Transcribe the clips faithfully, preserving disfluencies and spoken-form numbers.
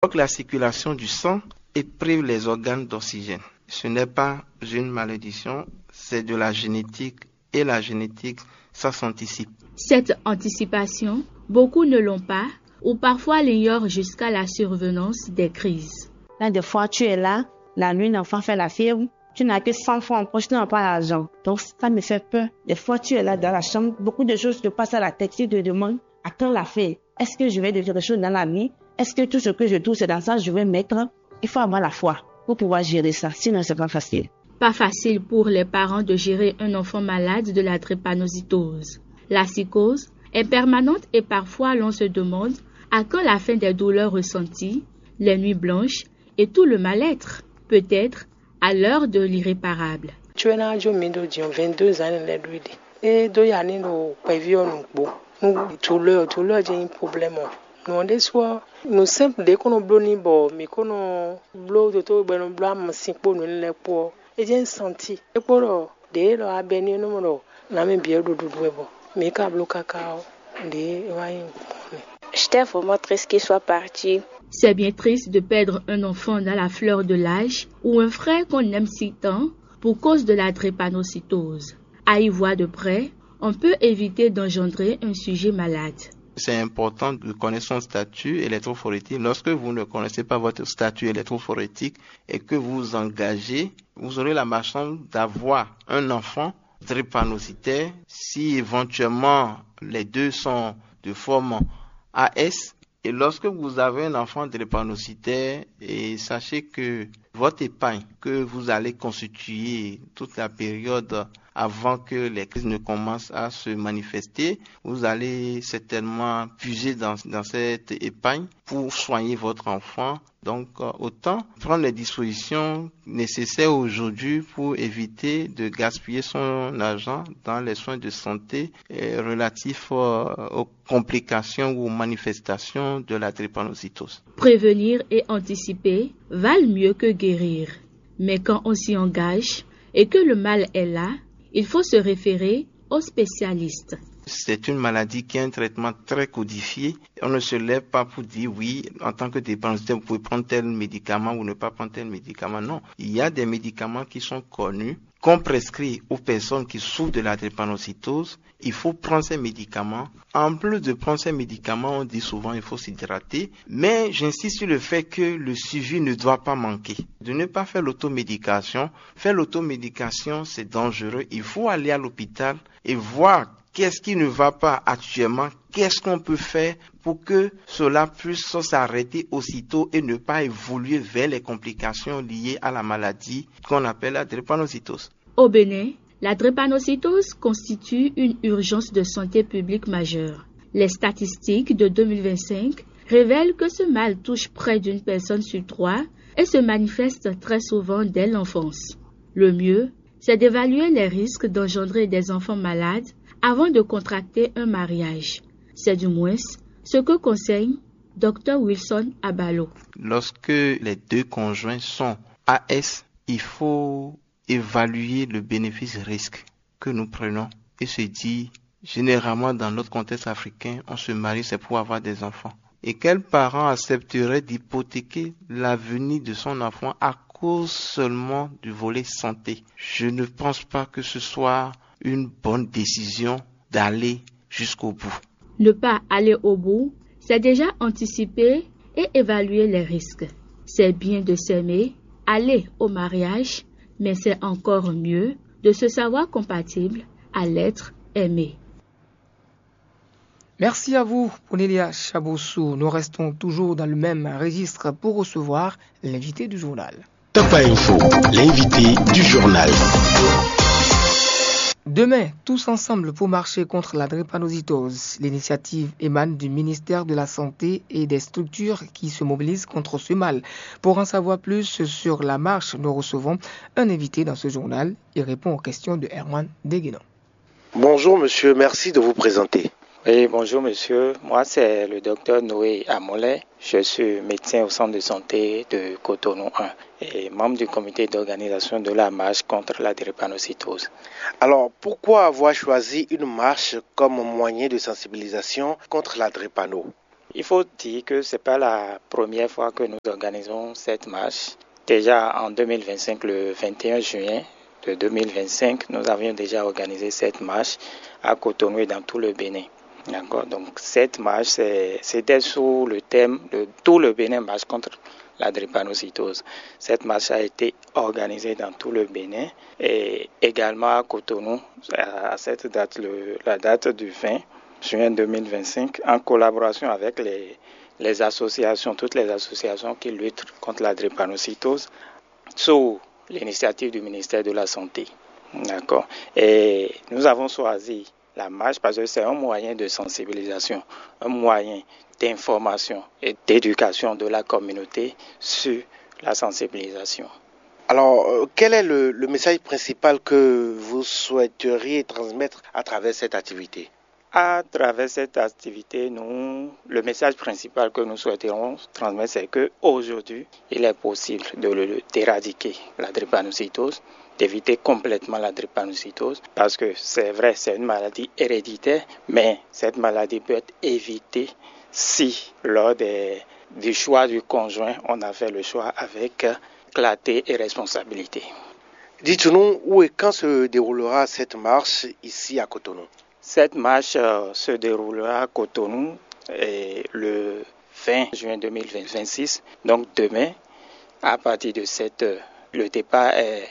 Bloque la circulation du sang et prive les organes d'oxygène. Ce n'est pas une malédiction, c'est de la génétique et la génétique, ça s'anticipe. Cette anticipation, beaucoup ne l'ont pas ou parfois l'ignorent jusqu'à la survenance des crises. Là, des fois, tu es là, la nuit, l'enfant fait la fièvre, tu n'as que cent francs en poche, tu n'as pas l'argent. Donc, ça me fait peur. Des fois, tu es là dans la chambre, beaucoup de choses te passent à la tête, tu te demandes à quand la fin. Est-ce que je vais devenir quelque chose dans la nuit? Est-ce que tout ce que je trouve, c'est dans ça que je vais mettre? Il faut avoir la foi pour pouvoir gérer ça, sinon c'est pas facile. Pas facile pour les parents de gérer un enfant malade de la drépanocytose. La psychose est permanente et parfois l'on se demande à quand la fin des douleurs ressenties, les nuits blanches et tout le mal-être, peut-être à l'heure de l'irréparable. Cuɛ ná jó mi ɖo din vingt-deux ans lɛ́ɛ ɖu ɖe. É dó ya ní ɖo kpɛví ɔ́ nǔgbó. Nú douleur, douleur jɛ́n nyí problème ɔ́. Nǔ ɔ́ ɖésú ɔ́, nǔ simple ɖě kó nɔ bló n'i bɔ mǐ kó nɔ bló dotó bɔ è nɔ bló amasin kpó nǔ énɛ́ lɛ́ɛ kpó ɔ́, é jɛ́n santi. É kpó ɖɔ ɖě élɔ́ abɛ ní é nɔ mɔ ɖɔ nǎ mɛ bǐ wɛ ɖo ɖuɖu wɛ bɔ mǐ ka bló káká ɔ́, ɖě é wá nyí gbɔn nɛ́. J'étais vraiment triste qu'il soit parti. C'est bien triste de perdre un enfant dans la fleur de l'âge ou un frère qu'on aime si tant pour cause de la drépanocytose. À y voir de près, on peut éviter d'engendrer un sujet malade. C'est important de connaître son statut électrophorétique. Lorsque vous ne connaissez pas votre statut électrophorétique et que vous vous engagez, vous aurez la malchance d'avoir un enfant drépanocytaire si éventuellement les deux sont de forme A S. Et lorsque vous avez un enfant drépanocytaire, et sachez que votre épargne que vous allez constituer toute la période avant que les crises ne commencent à se manifester, vous allez certainement puiser dans, dans cette épargne pour soigner votre enfant. Donc, euh, autant prendre les dispositions nécessaires aujourd'hui pour éviter de gaspiller son argent dans les soins de santé, euh, relatifs, euh, aux complications ou aux manifestations de la drépanocytose. Prévenir et anticiper valent mieux que guérir. Mais quand on s'y engage et que le mal est là, il faut se référer aux spécialistes. C'est une maladie qui a un traitement très codifié. On ne se lève pas pour dire oui, en tant que drépanocytaire, vous pouvez prendre tel médicament ou ne pas prendre tel médicament. Non, il y a des médicaments qui sont connus, qu'on prescrit aux personnes qui souffrent de la drépanocytose. Il faut prendre ces médicaments. En plus de prendre ces médicaments, on dit souvent il faut s'hydrater. Mais j'insiste sur le fait que le suivi ne doit pas manquer. De ne pas faire l'automédication. Faire l'automédication, c'est dangereux. Il faut aller à l'hôpital et voir qu'est-ce qui ne va pas actuellement, qu'est-ce qu'on peut faire pour que cela puisse s'arrêter aussitôt et ne pas évoluer vers les complications liées à la maladie qu'on appelle la drépanocytose. Au Bénin, la drépanocytose constitue une urgence de santé publique majeure. Les statistiques de deux mille vingt-cinq révèlent que ce mal touche près d'une personne sur trois et se manifeste très souvent dès l'enfance. Le mieux, c'est d'évaluer les risques d'engendrer des enfants malades avant de contracter un mariage. C'est du moins ce que conseille Dr Wilson Abalo. Lorsque les deux conjoints sont A S, il faut évaluer le bénéfice-risque que nous prenons et se dire, généralement dans notre contexte africain, on se marie, c'est pour avoir des enfants. Et quel parent accepterait d'hypothéquer l'avenir de son enfant à cause seulement du volet santé? Je ne pense pas que ce soit une bonne décision d'aller jusqu'au bout. Ne pas aller au bout, c'est déjà anticiper et évaluer les risques. C'est bien de s'aimer, aller au mariage, mais c'est encore mieux de se savoir compatible à l'être aimé. Merci à vous, Cornelia Chaboussou. Nous restons toujours dans le même registre pour recevoir l'invité du journal. Top Info, l'invité du journal. Demain, tous ensemble pour marcher contre la drépanocytose. L'initiative émane du ministère de la Santé et des structures qui se mobilisent contre ce mal. Pour en savoir plus sur la marche, nous recevons un invité dans ce journal. Il répond aux questions de Erwan Deguenon. Bonjour monsieur, merci de vous présenter. Oui, bonjour monsieur. Moi, c'est le docteur Noé Amolin. Je suis médecin au centre de santé de Cotonou un et membre du comité d'organisation de la marche contre la drépanocytose. Alors, pourquoi avoir choisi une marche comme moyen de sensibilisation contre la drépano ? Il faut dire que ce n'est pas la première fois que nous organisons cette marche. Déjà en deux mille vingt-cinq, le vingt et un juin de deux mille vingt-cinq, nous avions déjà organisé cette marche à Cotonou et dans tout le Bénin. D'accord. Donc cette marche, c'est- c'était sous le thème de tout le Bénin marche contre la drépanocytose. Cette marche a été organisée dans tout le Bénin et également à Cotonou à cette date, le- la date du vingt juin deux mille vingt-cinq, en collaboration avec les, les associations, toutes les associations qui luttent contre la drépanocytose, sous l'initiative du ministère de la Santé. D'accord. Et nous avons choisi la marche parce que c'est un moyen de sensibilisation, un moyen d'information et d'éducation de la communauté sur la sensibilisation. Alors, euh, quel est le, le message principal que vous souhaiteriez transmettre à travers cette activité ? À travers cette activité, nous, le message principal que nous souhaiterons transmettre, c'est que aujourd'hui, il est possible de le- d'éradiquer la drépanocytose, d'éviter complètement la drépanocytose, parce que c'est vrai, c'est une maladie héréditaire, mais cette maladie peut être évitée si, lors des- du choix du conjoint, on a fait le choix avec clarté et responsabilité. Dites-nous où et quand se déroulera cette marche ici à Cotonou ? Cette marche euh, se déroulera à Cotonou euh, le vingt juin deux mille vingt-six, donc demain, à partir de sept heures. Le départ est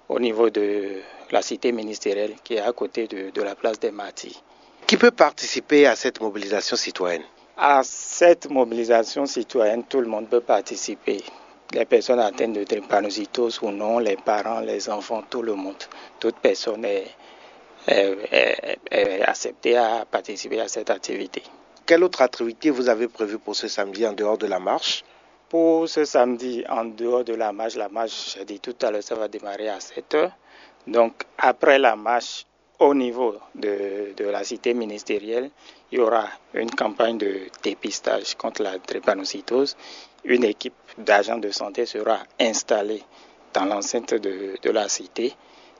au niveau de la cité ministérielle qui est à côté de, de la place des Martyrs. Qui peut participer à cette mobilisation citoyenne ? À cette mobilisation citoyenne, tout le monde peut participer. Les personnes atteintes de drépanocytose ou non, les parents, les enfants, tout le monde, toute personne est, est- est- est acceptée à participer à cette activité. Quelle autre activité vous avez prévue pour ce samedi en dehors de la marche ? Pour ce samedi, en dehors de la marche, la marche, j'ai dit tout à l'heure, ça va démarrer à sept heures. Donc, après la marche, au niveau de, de la cité ministérielle, il y aura une campagne de dépistage contre la drépanocytose. Une équipe d'agents de santé sera installée dans l'enceinte de, de la cité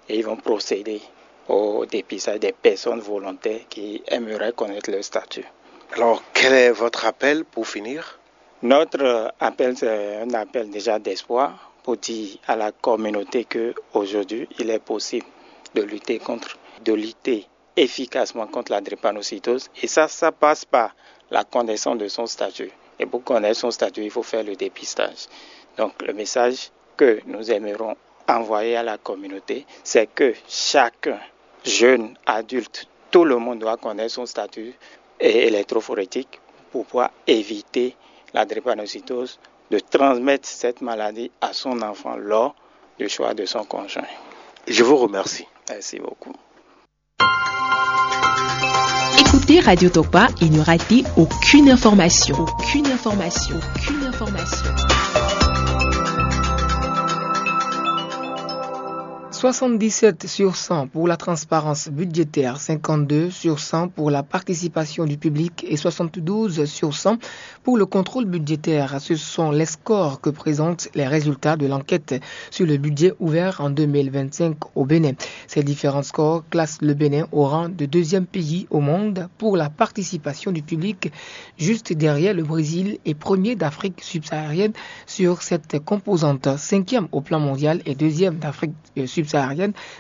et ils vont procéder au dépistage des personnes volontaires qui aimeraient connaître leur statut. Alors, quel est votre appel pour finir ? Notre appel, c'est un appel déjà d'espoir pour dire à la communauté que aujourd'hui, il est possible de lutter contre, de lutter efficacement contre la drépanocytose. Et ça, ça passe par la connaissance de son statut. Et pour connaître son statut, il faut faire le dépistage. Donc, le message que nous aimerons envoyer à la communauté, c'est que chacun, jeune, adulte, tout le monde doit connaître son statut é- électrophorétique pour pouvoir éviter la drépanocytose, de transmettre cette maladie à son enfant lors du choix de son conjoint. Je vous remercie. Merci beaucoup. Écoutez Radio Tokpa et ne ratez aucune information. Aucune information. Aucune information. Soixante-dix-sept sur cent pour la transparence budgétaire, cinquante-deux sur cent pour la participation du public et soixante-douze sur cent pour le contrôle budgétaire. Ce sont les scores que présentent les résultats de l'enquête sur le budget ouvert en deux mille vingt-cinq au Bénin. Ces différents scores classent le Bénin au rang de deuxième pays au monde pour la participation du public, juste derrière le Brésil et premier d'Afrique subsaharienne sur cette composante, cinquième au plan mondial et deuxième d'Afrique euh, subsaharienne,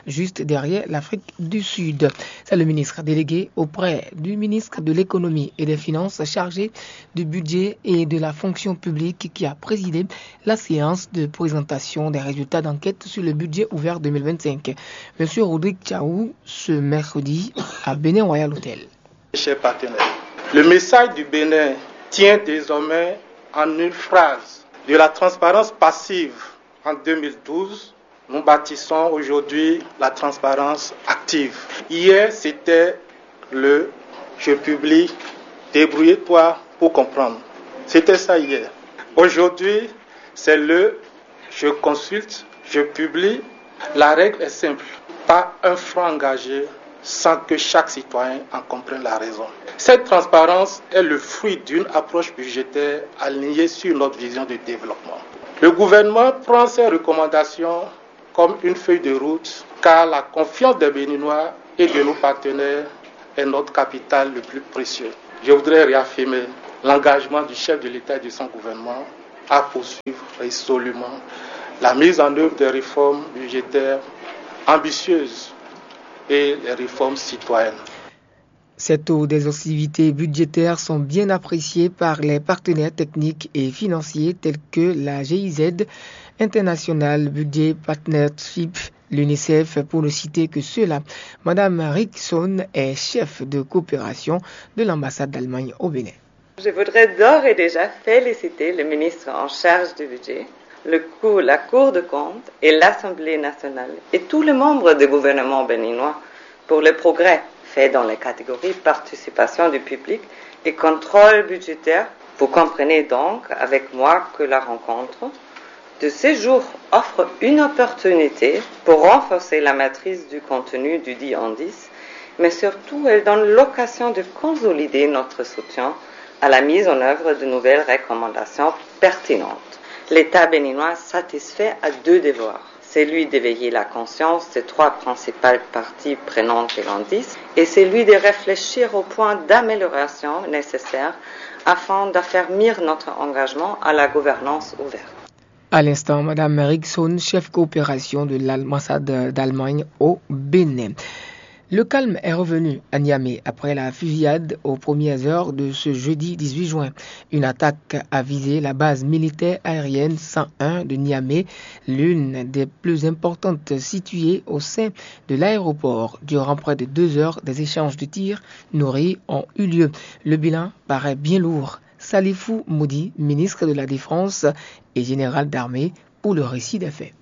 juste derrière l'Afrique du Sud. C'est le ministre délégué auprès du ministre de l'économie et des finances chargé du budget et de la fonction publique qui a présidé la séance de présentation des résultats d'enquête sur le budget ouvert deux mille vingt-cinq. Monsieur Rodrigue Tchaou, ce mercredi à Bénin Royal Hotel. Chers partenaires, le message du Bénin tient désormais en une phrase : de la transparence passive en deux mille douze, nous bâtissons aujourd'hui la transparence active. Hier, c'était le « je publie, débrouille-toi pour comprendre ». C'était ça hier. Aujourd'hui, c'est le « je consulte, je publie ». La règle est simple : pas un franc engagé sans que chaque citoyen en comprenne la raison. Cette transparence est le fruit d'une approche budgétaire alignée sur notre vision de développement. Le gouvernement prend ces recommandations comme une feuille de route, car la confiance des Béninois et de nos partenaires est notre capital le plus précieux. Je voudrais réaffirmer L'engagement du chef de l'État et de son gouvernement à poursuivre résolument la mise en œuvre des réformes budgétaires ambitieuses et les réformes citoyennes. Ces taux d'exhaustivité budgétaire sont bien appréciés par les partenaires techniques et financiers tels que la G I Z International Budget Partnership, l'UNICEF, pour ne citer que ceux-là. Madame Rickson est chef de coopération de l'ambassade d'Allemagne au Bénin. Je voudrais d'ores et déjà féliciter le ministre en charge du budget, le cou-, la Cour de compte et l'Assemblée nationale et tous les membres du gouvernement béninois pour les progrès faits dans les catégories participation du public et contrôle budgétaire. Vous comprenez donc avec moi que la rencontre de ces jours offre une opportunité pour renforcer la maîtrise du contenu du dit indice, mais surtout elle donne l'occasion de consolider notre soutien à la mise en œuvre de nouvelles recommandations pertinentes. L'État béninois satisfait à deux devoirs, celui d'éveiller la conscience des trois principales parties prenantes de l'indice et celui de réfléchir aux points d'amélioration nécessaires afin d'affermir notre engagement à la gouvernance ouverte. À l'instant, Madame Erickson, chef coopération de l'ambassade d'Allemagne au Bénin. Le calme est revenu à Niamey après la fusillade aux premières heures de ce jeudi dix-huit juin. Une attaque a visé la base militaire aérienne cent un de Niamey, l'une des plus importantes situées au sein de l'aéroport. Durant près de deux heures, des échanges de tirs nourris ont eu lieu. Le bilan paraît bien lourd. Salifou Moudi, ministre de la Défense et général d'armée, pour le récit des faits.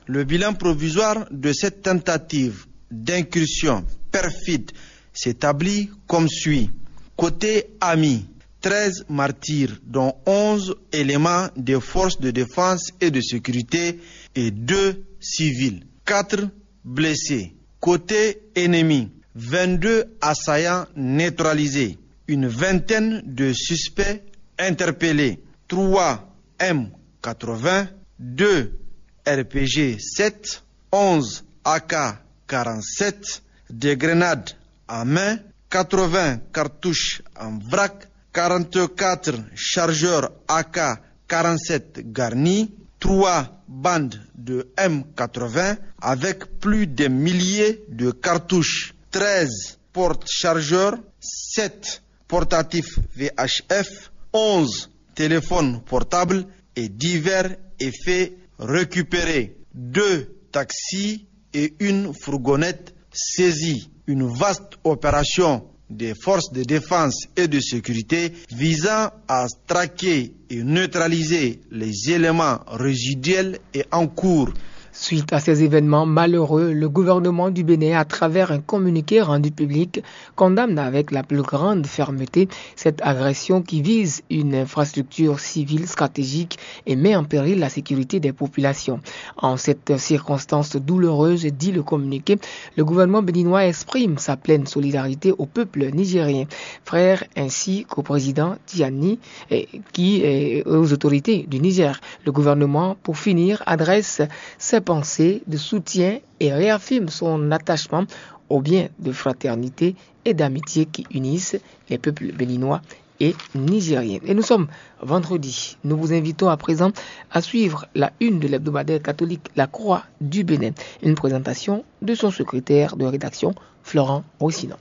Le bilan provisoire de cette tentative d'incursion perfide s'établit comme suit. Côté ami, treize martyrs, dont onze éléments des forces de défense et de sécurité et deux civils. Quatre blessés. Côté ennemi, vingt-deux assaillants neutralisés, une vingtaine de suspects interpellés, trois M quatre-vingts, deux R P G sept, onze A K quarante-sept, des grenades à main, quatre-vingts cartouches en vrac, quarante-quatre chargeurs A K quarante-sept garnis, trois bandes de M quatre-vingts avec plus d'un millier de cartouches, treize porte-chargeurs, sept portatifs V H F, onze téléphones portables et divers effets récupérés, deux taxis et une fourgonnette saisie. Une vaste opération des forces de défense et de sécurité visant à traquer et neutraliser les éléments résiduels et en cours. Suite à ces événements malheureux, le gouvernement du Bénin, à travers un communiqué rendu public, condamne avec la plus grande fermeté cette agression qui vise une infrastructure civile stratégique et met en péril la sécurité des populations. En cette circonstance douloureuse, dit le communiqué, le gouvernement béninois exprime sa pleine solidarité au peuple nigérien, frère ainsi qu'au président Tiani, et qui, et aux autorités du Niger. Le gouvernement, pour finir, adresse ses pensées de soutien et réaffirme son attachement aux biens de fraternité et d'amitié qui unissent les peuples béninois et nigériens. Et nous sommes vendredi. Nous vous invitons à présent à suivre la une de l'hebdomadaire catholique La Croix du Bénin. Une présentation de son secrétaire de rédaction, Florent Rossinon.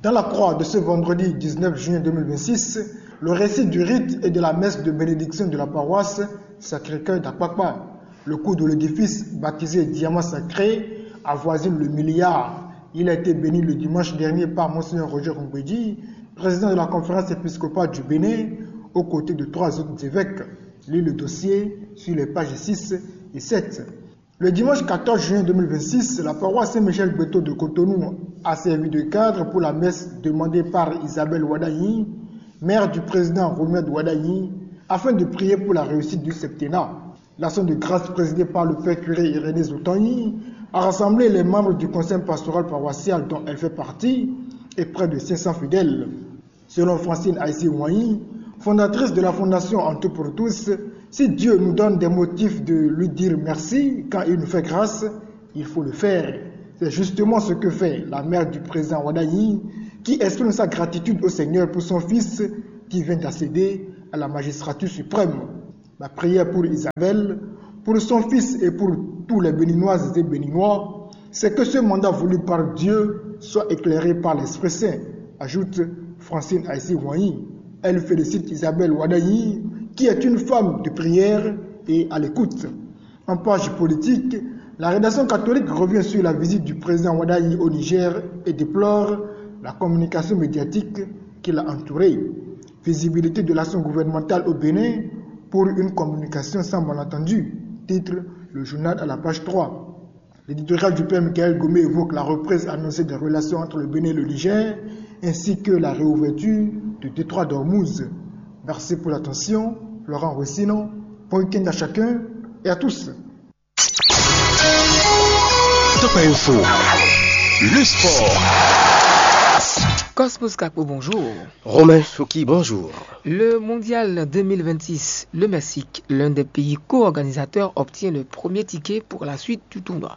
Dans La Croix de ce vendredi dix-neuf juin deux mille vingt-six, le récit du rite et de la messe de bénédiction de la paroisse Sacré-Cœur d'Akpakpa. Le coût de l'édifice, baptisé Diamant Sacré, avoisine le milliard. Il a été béni le dimanche dernier par Monseigneur Roger Rongbedi, président de la conférence épiscopale du Bénin, aux côtés de trois autres évêques. Lis le dossier sur les pages six et sept. Le dimanche quatorze juin deux mille vingt-six, la paroisse Saint-Michel Gbeto de Cotonou a servi de cadre pour la messe demandée par Isabelle Ouadagni, mère du président Romuald Ouadagni, afin de prier pour la réussite du septennat. L'action de grâce présidée par le père curé Irénée Zoutagni a rassemblé les membres du conseil pastoral paroissial dont elle fait partie et près de cinq cents fidèles. Selon Francine Aïssi Ouanyi, fondatrice de la fondation En tout pour tous, si Dieu nous donne des motifs de lui dire merci quand il nous fait grâce, il faut le faire. C'est justement ce que fait la mère du président Ouadagni, qui exprime sa gratitude au Seigneur pour son fils, qui vient d'accéder à la magistrature suprême. Ma prière pour Isabelle, pour son fils et pour tous les Béninoises et Béninois, c'est que ce mandat voulu par Dieu soit éclairé par l'Esprit Saint, ajoute Francine Aïssi Wanyi. Elle félicite Isabelle Wadayi, qui est une femme de prière et à l'écoute. En page politique, la rédaction catholique revient sur la visite du président Wadayi au Niger et déplore la communication médiatique qui l'a entouré. Visibilité de l'action gouvernementale au Bénin pour une communication sans malentendu, titre le journal à la page trois. L'éditorial du père Michael Gomé évoque la reprise annoncée des relations entre le Bénin et le Niger, ainsi que la réouverture du détroit d'Ormuz. Merci pour l'attention, Laurent Rossinon. Bon week-end à chacun et à tous. Top Info, le sport. Cosmos Capo, bonjour. Romain Choki, bonjour. Le mondial deux mille vingt-six, le Mexique, l'un des pays co-organisateurs, obtient le premier ticket pour la suite du tournoi.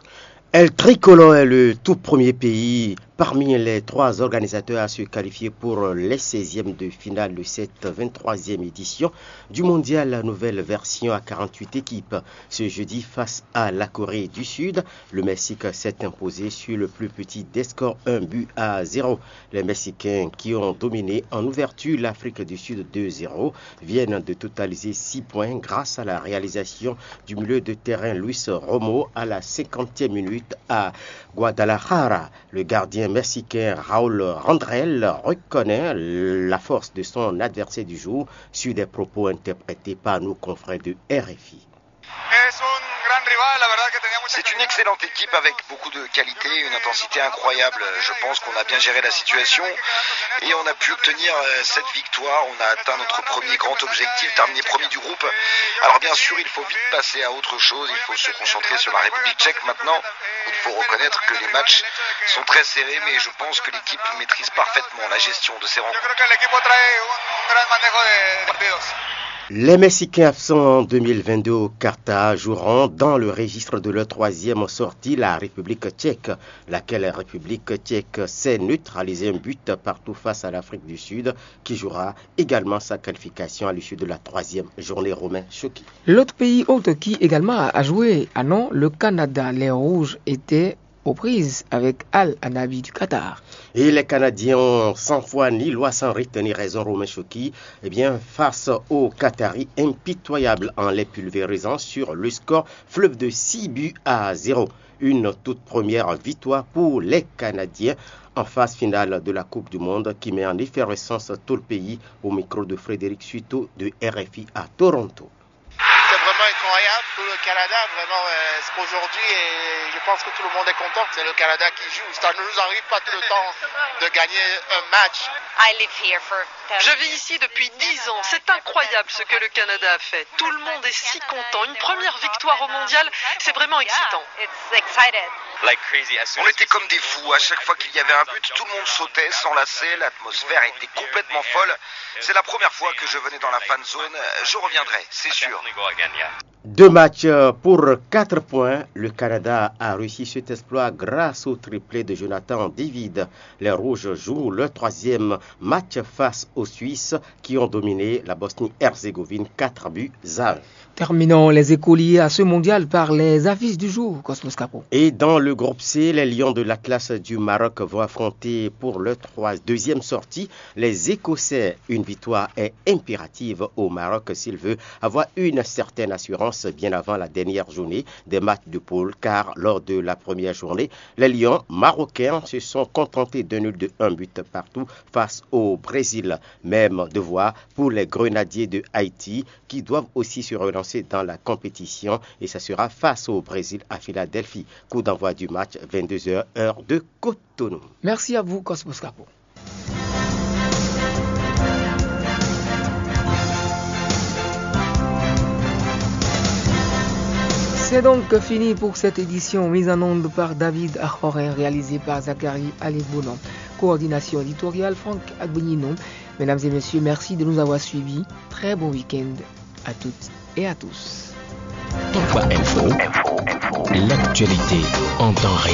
El Tricolore est le tout premier pays parmi les trois organisateurs à se qualifier pour les seizièmes de finale de cette vingt-troisième édition du mondial, la nouvelle version à quarante-huit équipes. Ce jeudi, face à la Corée du Sud, le Mexique s'est imposé sur le plus petit des scores, un but à zéro. Les Mexicains, qui ont dominé en ouverture l'Afrique du Sud deux zéro, viennent de totaliser six points grâce à la réalisation du milieu de terrain Luis Romo à la cinquantième minute à Guadalajara. Le gardien mexicain Raúl Randrel reconnaît la force de son adversaire du jour sur des propos interprétés par nos confrères de R F I. C'est une excellente équipe avec beaucoup de qualité, une intensité incroyable. Je pense qu'on a bien géré la situation et on a pu obtenir euh, cette victoire. On a atteint notre premier grand objectif, terminer premier du groupe. Alors bien sûr, il faut vite passer à autre chose. Il faut se concentrer sur la République tchèque maintenant. Il faut reconnaître que les matchs sont très serrés, mais je pense que l'équipe maîtrise parfaitement la gestion de ces rencontres. Les Mexicains absents en deux mille vingt-deux au Qatar joueront dans le registre de leur troisième sortie, la République tchèque, laquelle République tchèque sait neutraliser un but partout face à l'Afrique du Sud, qui jouera également sa qualification à l'issue de la troisième journée. Romain Choki. L'autre pays hôte qui également a joué, ah non, le Canada. Les Rouges étaient aux prises avec Al Anabi du Qatar. Et les Canadiens ont sans foi ni loi, sans rite ni raison, Romain Choki, eh bien, face aux Qataris, impitoyables en les pulvérisant sur le score fleuve de six buts à zéro. Une toute première victoire pour les Canadiens en phase finale de la Coupe du Monde qui met en effervescence tout le pays. Au micro de Frédéric Suito de R F I à Toronto. C'est vraiment incroyable pour le Canada, vraiment, euh, c'est aujourd'hui et je pense que tout le monde est content. C'est le Canada qui joue. Ça ne nous arrive pas tout le temps de gagner un match. Je vis ici depuis dix ans. C'est incroyable ce que le Canada a fait. Tout le monde est si content. Une première victoire au mondial, c'est vraiment excitant. On était comme des fous. À chaque fois qu'il y avait un but, tout le monde sautait, s'enlaçait. L'atmosphère était complètement folle. C'est la première fois que je venais dans la fan zone. Je reviendrai, c'est sûr. Deux matchs pour quatre points. Le Canada a réussi cet exploit grâce au triplé de Jonathan David. Les Rouges jouent leur troisième match face aux Suisses qui ont dominé la Bosnie-Herzégovine quatre buts à un. Terminons les écoliers à ce mondial par les affiches du jour, Cosmos Capo. Et dans le groupe C, les Lions de l'Atlas du Maroc vont affronter pour leur trois, deuxième sortie les Écossais. Une victoire est impérative au Maroc s'il veut avoir une certaine assurance bien avant la dernière journée des matchs de poule, car lors de la première journée, les Lions marocains se sont contentés d'un nul de un but partout face au Brésil. Même devoir pour les Grenadiers de Haïti qui doivent aussi se relancer dans la compétition, et ça sera face au Brésil à Philadelphie. Coup d'envoi du match, vingt-deux heures, heure de Cotonou. Merci à vous, Cosmos Capo. C'est donc fini pour cette édition mise en onde par David Ahorin, réalisée par Zachary Aligbono. Coordination éditoriale, Franck Agbigninon. Mesdames et messieurs, merci de nous avoir suivis. Très bon week-end à toutes et à tous. Top Info, l'actualité en temps réel.